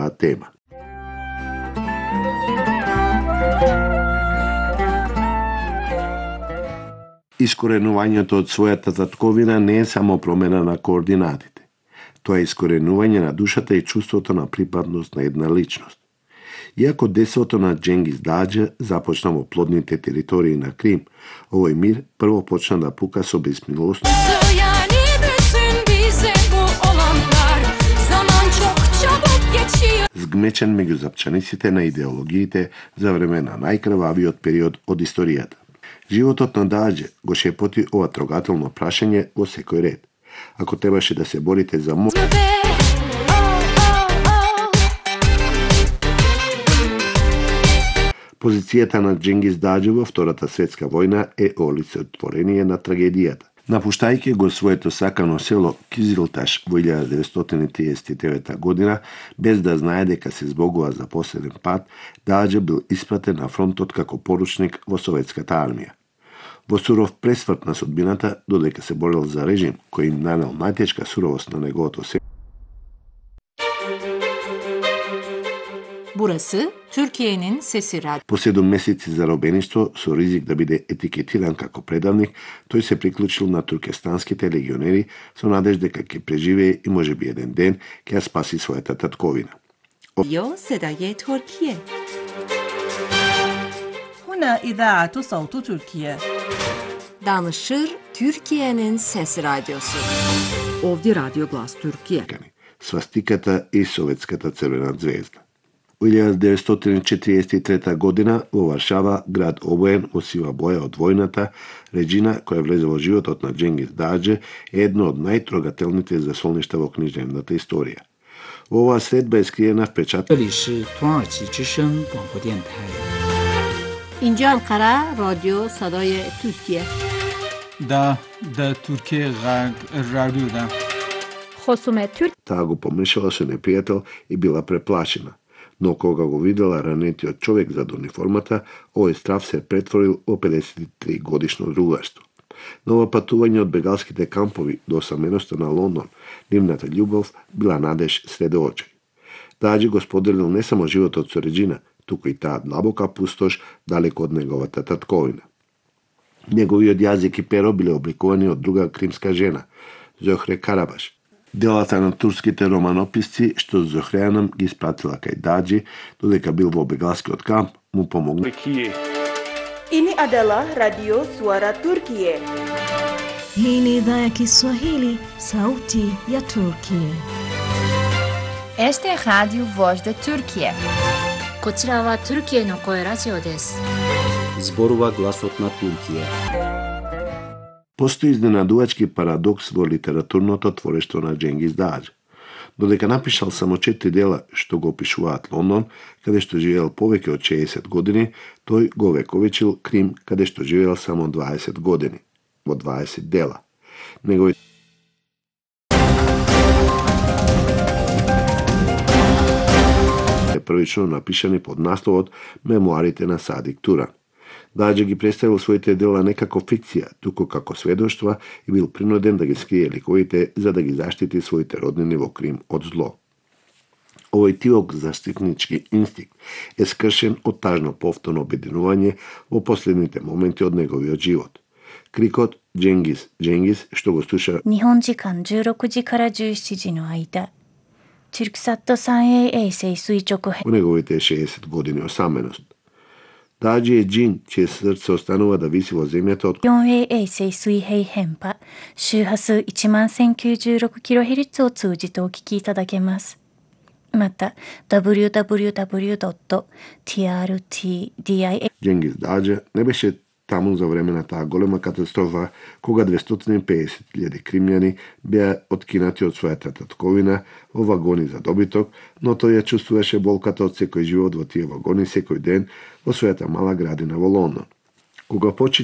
оваа тема. Искоренувањето од својата татковина не е само промена на координатите. Тоа е искоренување на душата и чувството на припадност на една личност. Иако десото на Џенгиз Даџа започна во плодните територии на Крим, овој мир прво почна да пука со безмилост, згмечен меѓу запчаниците на идеологиите за време на најкрвавиот период од историјата. Животот на Даџа го шепоти ова трогателно прашање во секој ред. Ако требаше да се борите за позицијата на Џенгиз Даџа во Втората светска војна е олицетворение на трагедијата. Напуштајќи го своето сакано село Кизилташ во 1939 година, без да знае дека се збогува за последен пат, Даџа бил испратен на фронтот како поручник во советската армија. Во суров пресврт на судбината, додека се борел за режим кој им нанел најтешка суровост на неговото се. Burası Türkiye'nin Sesi Radyo. По 7 месеци заробеништво со ризик да биде етикетиран како предавник, тој се приклучил на туркестанските легионери со надеж дека ќе преживее и можеби еден ден ќе ја спаси својата татковина. صدای ترکیه. هنا إذاعة صوت تركيا. Danışır Türkiye'nin Sesi Radyosu. Ovdje Radio Glas Türkiye. Свастиката и Советската црвена звезда. Во 1943 година во Варшава, град обоен во сива боја од војната, Реџина, која влезе во животот на Џенгиз Даџа, е едно од најтрогателните засолништа во книжевната историја. Во оваа средба е скриена впечатка. اینجا انقره رادیو صدای ترکیه. دا ترکیه رادیو да. خصوم ترک. Таа го помешала со непријател и била преплашена. Но кога го видела ранетиот човек зад униформата, овој страв се претворил во 53 годишно другарство. Ново патување од бегалските кампови до осаменоста на Лондон, нивната љубов била надеж сред очи. Даџа го споделил не само животот со Реџина, туку и таа длабока пустош далеко од неговата татковина. Неговиот јазик и перо биле обликувани од друга кримска жена, Зохре Карабаш. Делата на турските романописци што Зохреанам ги испратила кај Даџи, додека бил во бегалскиот камп, му помогна. Ini adalah Radio Suara Turkiye. Hii ni idhaa ya Kiswahili, sauti ya Turkiye. Este é Radio Voz da Turquia. こちらはトルキエの声ラジオです。Зборува гласот на Туркија. Постои изненадувачки парадокс во литературното творештво на Џенгиз Даџа. Додека напишал само 4 дела што го опишуваат Лондон, каде што живеел повеќе од 60 години, тој го вековечил Крим, каде што живеел само 20 години, во 20 дела. Неговите првично напишани под насловот Мемуарите на Садик Туран. Даџа ги представил своите дела не како фикција, туку како сведоштва и бил принуден да ги скрие ликовите за да ги заштити своите роднини во Крим од зло. Овој тивок заштитнички инстинкт е скршен од тажно повторно обединување во последните моменти од неговиот живот. Крикот Џенгиз, Џенгиз, што го слуша 日本時間16時から17時の間 Тюрксат 3A 衛星垂直во неговите 60 години осаменост. Даџи е џин, чие срце останува да виси во земјата од 4A 衛星水平変波周波数 11096kHz を通じてお聞きいただけます。また www.trtdia Џенгиз Даџа не беше таму за време на таа голема катастрофа, кога 250.000 кримјани беа откинати од својата татковина во вагони за добиток, но тој ја чувствуваше болката од секој живот во тие вагони секој ден во својата мала градина во Лондон. Кога почина